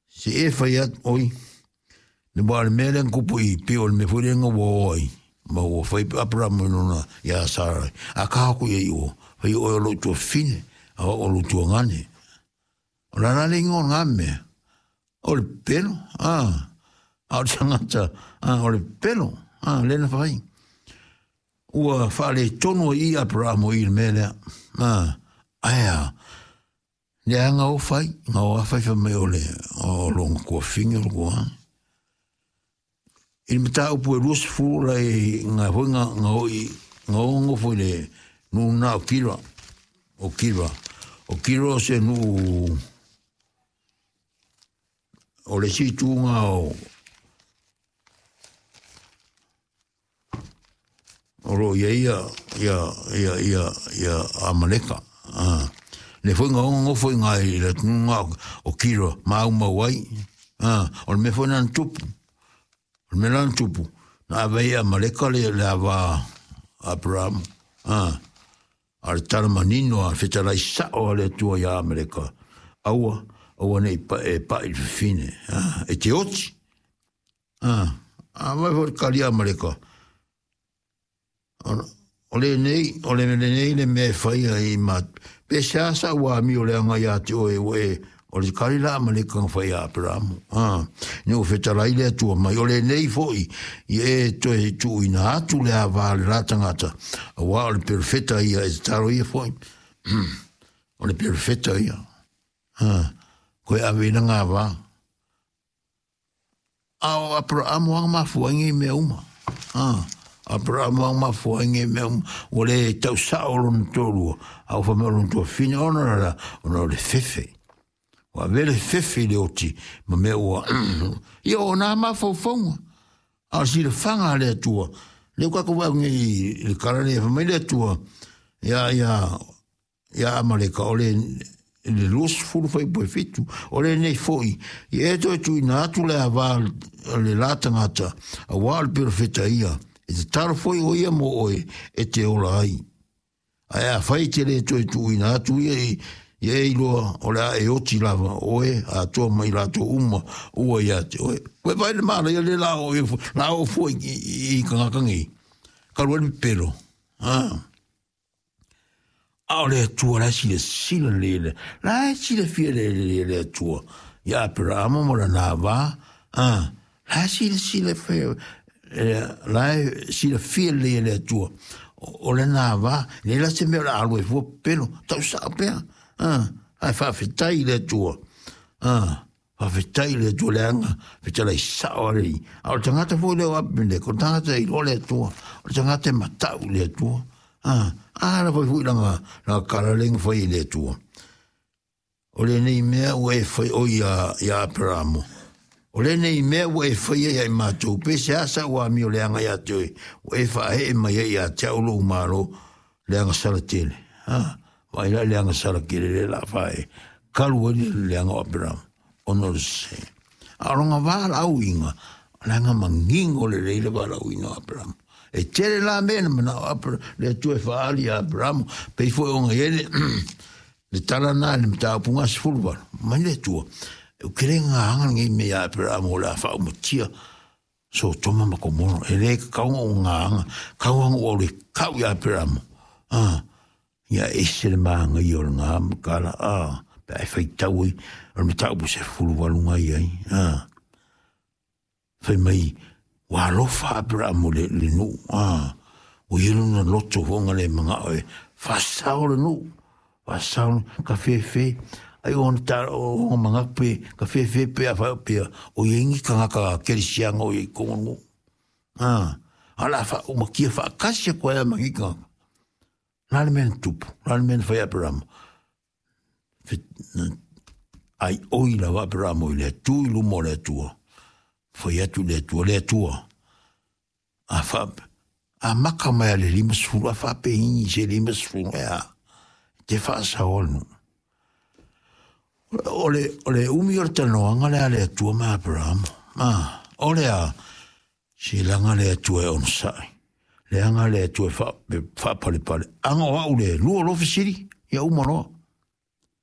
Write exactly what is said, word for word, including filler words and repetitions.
Se e fai atu oi le wa le mea lea na kupu i pei o le mea foi lea na ua o ai ma ua fai Aperamo i lona iā Sarai akā aku ia i o fai oe o lou tuafafine a o au o lou tuagane. O le a la le igoa o lena mea? O le pelo a a o le tagata a o le pelo a lea na fai. Ua faaletonu ai i Aperamo i le mea lea a ae a leaga o fai ga o fai fai mai o le o lona tuafafine o le tuagane. I le mataupu e luasefulu la e ga foi ga ga oi ga o nofo i le nuu lena o Kira o Kira o Kira o se nuu o le isi ituga o o loo i ai ia ia ia ia ia Amaleka a le foi ga o nofo iga i le atunuu lena o Kira maumau ai a o le mea foi lena na tupu. O le mea la na tupu na ave ai e Amaleka le le ava a Aperamo a a le tala manino a le fetalai sao a le Atua iā Amaleka aua aua nei pa e pa'i i le fafine a e te oti a a vaai foi le kali a Amaleka o lenei o le lenei le mea e faia i ma pe sea sa ua amio leaga iā te oe ua e o le kali la Amaleka na fai iā Aperamo a ina ua fetalai le Atua mai o lenei fo'i i e toe tuuina atu le ava a le la tagata auā o le perofeta ia e tatalo ia fo'i o le perofeta ia a koe ave i laga ava a o Aperamo aga mafua ai nei mea uma a Aperamo aga mafua ai nei mea uma ua le tausa'o lona toalua a ua faimai o lona tuafafine ona o le a ona o le fefe ua avea le fefe i le oti ma mea ua ia o nā mafaufauga a o le silafaga a le Atua lea ua tatou vaai nei i le tala lea fai mai le Atua ia ia ia Amaleka o le le luasefulu fuaiupu e fitu o lenei fo'i i e toe tuuina atu le ava le la tagata auā o le perofeta ia e tatalo foi o ia mo oe e te ola ai. Ae afai e te le toe tuuina atu ia i ia e iloa o le a e oti lava oe atoa ma i latou uma ua iā te oe. Koe vaai le manaia le la o la o fua i, i, i tagata nei. Kalu ai le pepelo. Ah. A o le Atua la e silasila lelei le la e silafia lelei e le Atua iā Aperamo ma lana va a la e silasila la e silafia lelei e le Atua o lana va le la se mea o le a alu ai fua pepelo tausao pea a ae faafetai i le Atua a faafetai i le Atua leaga fetalai sao a le Alii a o le tagata foi lea o Apimeleko o le tagata e iloa le Atua o le tagata e matau i le Atua a a la foi foi laga laga kala lea na fai e le Atua o lenei mea ua e fai oi iā iā Aperamo o lenei mea ua e faia ia i matou pe seā sa ua amio leaga iā te oe ua e faaee mai ai iā te au lou Malo leaga sala tele a vaai la leaga sala tele lea o le a faaee kalu ai le leaga o Aperamo ona o le sese a o lona valaauina leaga manino lelei le valaauina o Aperamo e tele la mea na manao Aper le Atua e faaali iā Aperamo pei foi ona i ai le le tala lena i le mataupu gasefulu valu mai le Atua ou te le gagaga lenei mea iā Aperamo o le a faaumatia Sotoma ma Komoro e lē tatau ona ou gagaga tau lava ona ou alu e tau iā Aperamo a ia ese le manaia o lena matala a pe a e faitau ai o le mataupu sefulu valu na i ai a fai mai ua alofa Aperamo i le le nuu a ua i ai lona loto foi na le manao e faasao le nuu faasao ka fefe ai ona ta ona manatu pe ka fefe pe afai pea o i ai ni tagata kerisiano o i ai i totonu o le nuu a a o le a faaumatia faatasi atu ai lava ma nei tagata. O le a le mea na tupu? O le a le mea na fai e Aperamo? Aioi lava Aperamo i le Atua i luma o le Atua. Fai atu i le Atua, le Atua, a fa, a maka mai a le limasefulu, a faapegigi se limasefulu e a, e te faasaoa le nuu. O le, o le umi o le talanoaga lea a le Atua ma Aperamo. A, o le a, se leaga le Atua e onosai. Leaga le Atua e faapalepale. Aga o au le lua loa fesili, ia uma loa.